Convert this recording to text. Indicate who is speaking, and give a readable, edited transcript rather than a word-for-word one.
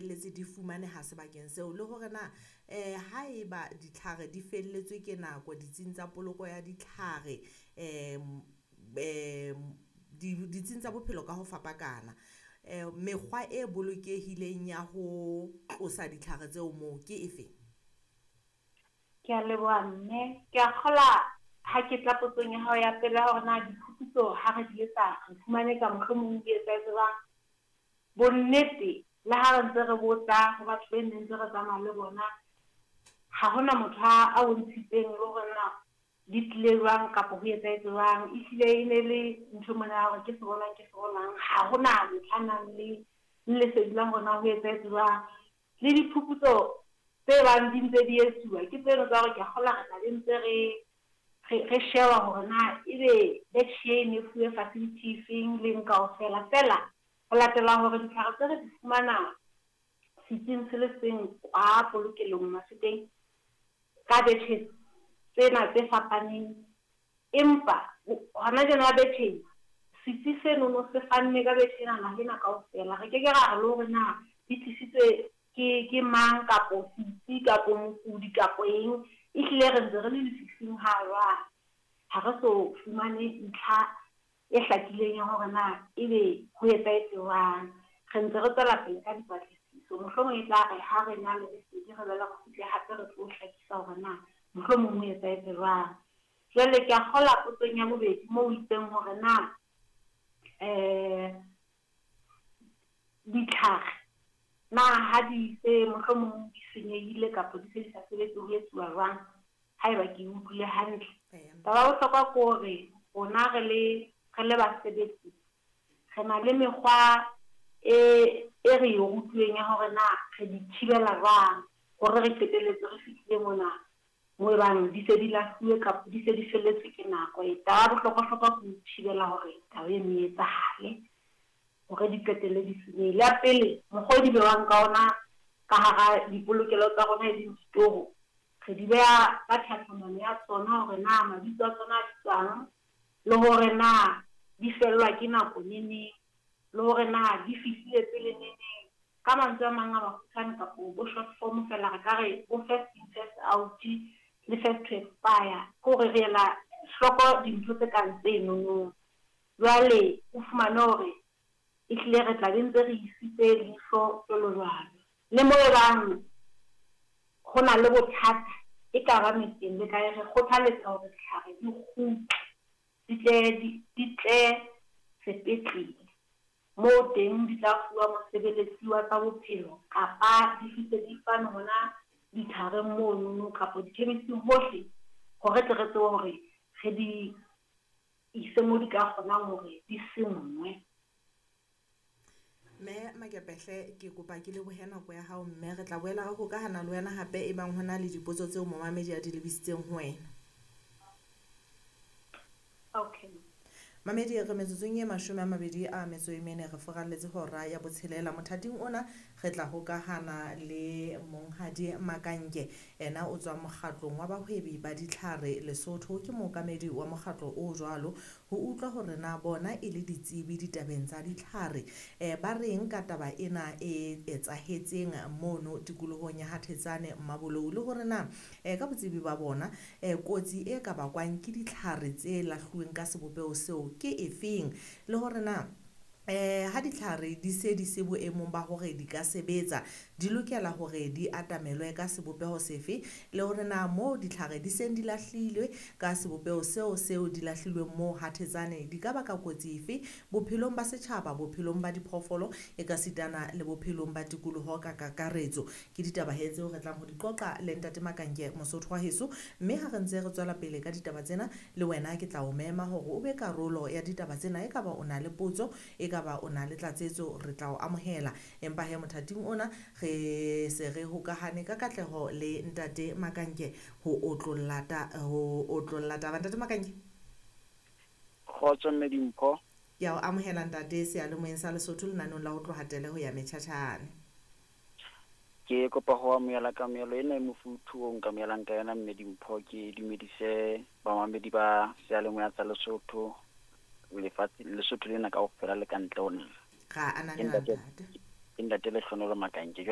Speaker 1: qetelletse di fumaneha sebakeng seo, le hore na haeba ditlhare di felletswe ke nako ditsing tsa poloko ya ditlhare ditsing tsa bophelo ka ho fapakana, mekgwa e bolokehileng ya ho tlosa ditlhare tseo moo ke efe?
Speaker 2: Ke a leboha mme, ke a kgola ha ke tla potsong ya hao ya pele ya hore na diphuputso ha re di etsa re fumane ka mohlomong di etsahetse jwang. Bonnete le ha re ntse re botsa ho batho be neng ntse re tsamaya le bona, ha hona motho a bontshitseng le hore na di tlile jwang kapa ho etsahetse jwang. Ehlile e ne le ntho mona ya hore ke se bonang ke se bonang, ha hona motho a nang le lesedi la hore na ho etsahetse jwang. Le diphuputso tse bang di ntse di etsuwa ke tseno tsa hore ke a kgolwa re tla be ntse re sheba hore na ebe batch e ne fuwe facility efeng leng kaofela. Feela ho latela hore ditlhare tse re di fumana setsing se le seng kwa polokelong Mafeteng ka batches tsena tse fapaneng, empa hona jwale batch setsi senono se fanne ka batch ena naha ena kaofela. Re ke ke ra re le hore na di tlisitswe ke mang kapo setsi kapo mokudi kapo eng, ehlile re ntse re le lefifing ha jwale. Ha re so fumane ntlha e hlakileng ya hore na ebe ho etsahetse jwang. Re ntse re tswela pele ka dipatlisiso, mohlomong e tla re ha re na le lesedi re boele re kgutle hape re tlo hlakisa hore na mohlomong ho etsahetse jwang. Jwale ke a kgolwa potsong ya bobedi moo o itseng hore na ditlhare na ha di se mohlomong di senyehile kapa di se di sa sebetse ho etsuwa jwang, haeba ke utlwile hantle. Taba ya bohlokwa ke hore rona re le basebetsi re na le mekgwa e re e rutuweng ya hore na re di thibela jwang hore re qetelletse re fihlile mona mo ebang di se di lahluwe kapa di se di felletswe ke nako. Taba ya bohlokwa-hlokwa ke ho thibela hore taba eno e etsahale hore di qetelle di senyehile. Ya pele, mokgwa o di bewang ka ona ka hara dipolokelo tsa rona e leng ditoro, re di beha ka tlhatlhamano ya tsona hore na mabitso a tsona a bitswang, le hore na di fellwa ke nako neneng, le hore na di fihlile pele neneng. Ka mantswe a mang a makgutshwane kapo bo short form fela re ka re bo first in first out le first to expire, ke hore re ela hloko dintho tse kang tsenono. Jwale o fumane hore ehlile re tla be ntse re isitse leihlo jwalo jwalo. Le mo ebang ho na le bothata e ka ba metseng le kae, re kgothaletsa hore ditlhare di kgutle, di tle sepetlele moo teng di tla fuwa mosebeletsi wa tsa bophelo kapa di fihle di fanwe hona ditlhareng monono kapa di-chemist-ing hohle, hore tle re tsebe hore re di ise mo di ka kgonang hore di senngwe.
Speaker 1: Mme Makepehle, ke kopa ke lebohe nako ya hao, mme re tla boela re hokahana le wena hape e bang hona le dipotso tseo momamedi a di lebisitseng ho wena.
Speaker 2: Okay.
Speaker 1: Mamedi, re metsotsong e 24 re foralletse hora ya botshelela. Mothating ona re tla hokahana le Monghadi Makanke, ena o tswa mokgatlong wa bahwebi ba ditlhare Lesotho, ke mookamedi wa mokgatlo o jwalo, ho utlwa hore na bona e le ditsebi ditabeng tsa ditlhare ba reng ka taba ena e etsahetseng mono tikolohong ya Hathetsane Mmabolou, le hore na ka botsebi ba bona kotsi e ka bakwang ke ditlhare tse lahluweng ka sebopeho seo ke efeng, le hore na ha ditlhare di se di se boemong ba hore di ka sebetsa di lokela hore di atamelwe ka sebopeho sefe, le hore na moo ditlhare di seng di lahlilwe ka sebopeho seo di lahlilweng moo Hathetsane di ka baka kotsi efe bophelong ba setjhaba, bophelong ba diphoofolo e ka sitana le bophelong ba tikoloho ka kakaretso. Ke ditaba he tseo re tlang ho di qoqa le Ntate Makanke Mosotho wa heso, mme ha re ntse re tswela pele ka ditaba tsena le wena ke tla o mema hore o be karolo ya ditaba tsena, e ka ba o na le potso, e ka ba o na le tlatsetso, re tla o amohela. Empa he mothating ona re se re hokahane ka katleho le Ntate Makanke ho otlolla taba. Ntate Makanke,
Speaker 3: kgotso mme Dimpho.
Speaker 1: Ke a o amohela ntate seyalemoyeng sa Lesotho lenaneong la ho tloha tele ho ya metjhatjhane.
Speaker 3: Ke kopa ho amohela kamohelo ena e mofuthu o nkamohelang ka yona mme Dimpho. Ke dumedise bamamedi ba seyalemoya sa Lesotho, lefatshe Lesotho lena kaofela le ka ntle ho naha.
Speaker 1: Ra ananela ntate.
Speaker 3: Ke Ntate Lehlohonolo Makanke jwalo.